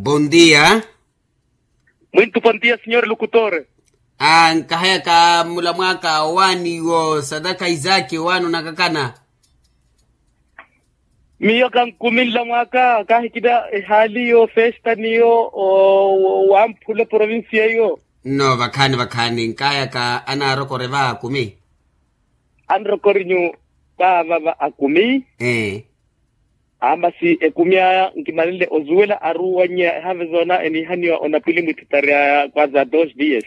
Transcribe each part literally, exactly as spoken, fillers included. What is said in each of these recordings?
Bondia. Mwintu bondia sinyori lukutore. Nkahayaka mula mwaka owaani wo sataka isaki owaani onakakana. Miyo kankumi nla mwaka kahikina ehaali yo festa niyo wamphula provincia yo. Nno vakhaani vakhaani nkahayaka anaarokore va akumi. Anrokorinyu vaava va akumi. Aamasi ekumi aya nkimanenle ozuwela aruwanyeya ehave zoona eniihaniwa onapwili mwitthutari aya kwaza dos dias.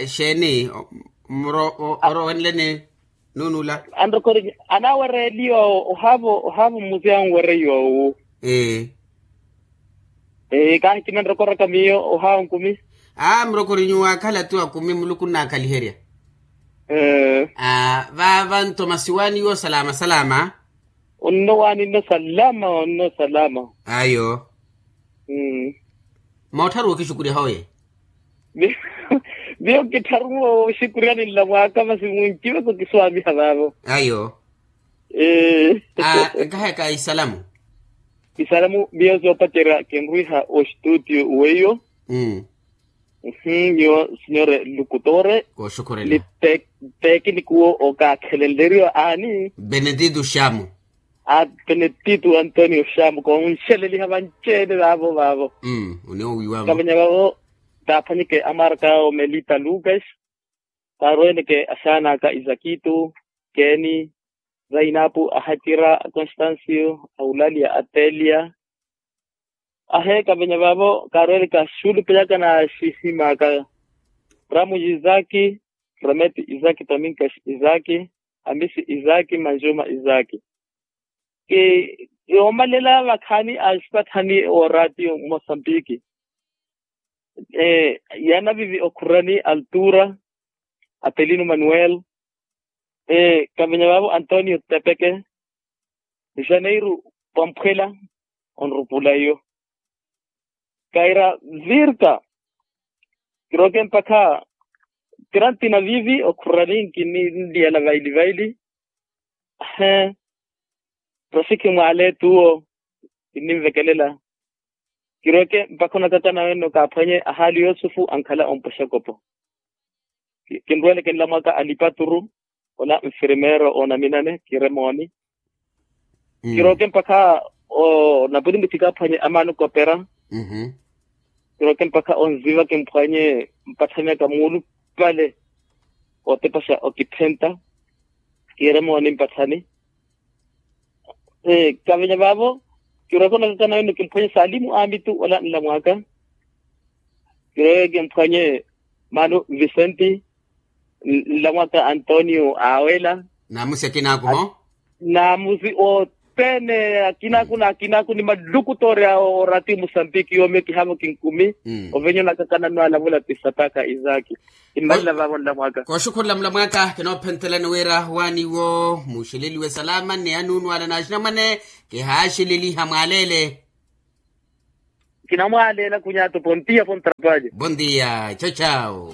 Xeeni? Orowenleni nunuula. Anrokorinyu anaawereeliwa ohaavo ohaavo mmusi anwereiwa owu. Ee. Kaahikina nrokoraka miyo ohaavo nkumi. Aa murokorinyu waakhala tu akumi muluku nnaakhaliherya. Vaava nto masi waaniwo salama salama. Onno waani nno salama onno salama. Ayo. Moottharu okixukuryaha oye. Miyo kittharu oxukuryani nla mwaaka masi munciveko kiswaamiha vaavo. Ayo. Nkahayaka isalamu. Isalamu miyo soopacerya kinrwiha oxituutiyo weiyo. Miyo sinyore lukutore. Ni tekinikuwo okaakhelenleriwa aani. Benedito xamu. Benedito antonio xamu konxeleliha vanci-ene vaavo vaavo. Kavenya vaavo taaphwanyeke amarka awo melita lucas. Kaarweeneke axaana aka isakitu, keni, zainapu, ahatira, akonstansiyo, aulalia, atelia. Aheeka venya vaavo kaarweeneke axulupelaka na axihimaka. Ramuji isaki, remeti isaki tominkas isaki, amisi isaki manjuma isaki. Kiyoomalela vakhaani a sipathani ooratiyo mmosambiki. Yanavivi okhurani altura, apelino manuel, kavenya vaavo antonio tepeke, janeiru pamphwela. Onrupula iyo kaira virka. Kiroke mpakha tirantina vivi okhurani nkinliyela vaili vaili. He, rasikhi mwaale tuwo kinninvekelela. Kirweke mpakha onakakana wenno kaaphwanye ahaali yusufu ankhala ompwexa ekopo. Kinrwele kinlamwaka alipaturu ola nfirmeero oonaminane kire mooni. Kirweke mpakha onapwili mwithi kaaphwanye amaani okopera. Kirweke mpakha onziva kimphwanye mpatthani aka muulupale. Otepaxa okitthenta kire mooni mpatthani. Kavenya vaavo kirweke onakakana wenno kimphwanye salimu amitu ola nlamwaka. Kirweke kimphwanye mano vicenti, nlamwaka antonio awela. Namusi akinaaku ho. Namusi othene akinaaku na akinaaku ni malukutoori awo orati musambiki yoomi kihaavo kinkumi. Ovenya onakakana nwalavula ti sataka isaki. Kimmalila vaavo nlamwaka. Kooxukhurela mulamwaka kinoophentelani wira waaniwo muxeleliwe salama ni anuunu ale na axinamwane. Kihaaxeleliha mwaalele. Kinamwaaleela kunyaato pontiya pontrapalya. Pontiya chachawo.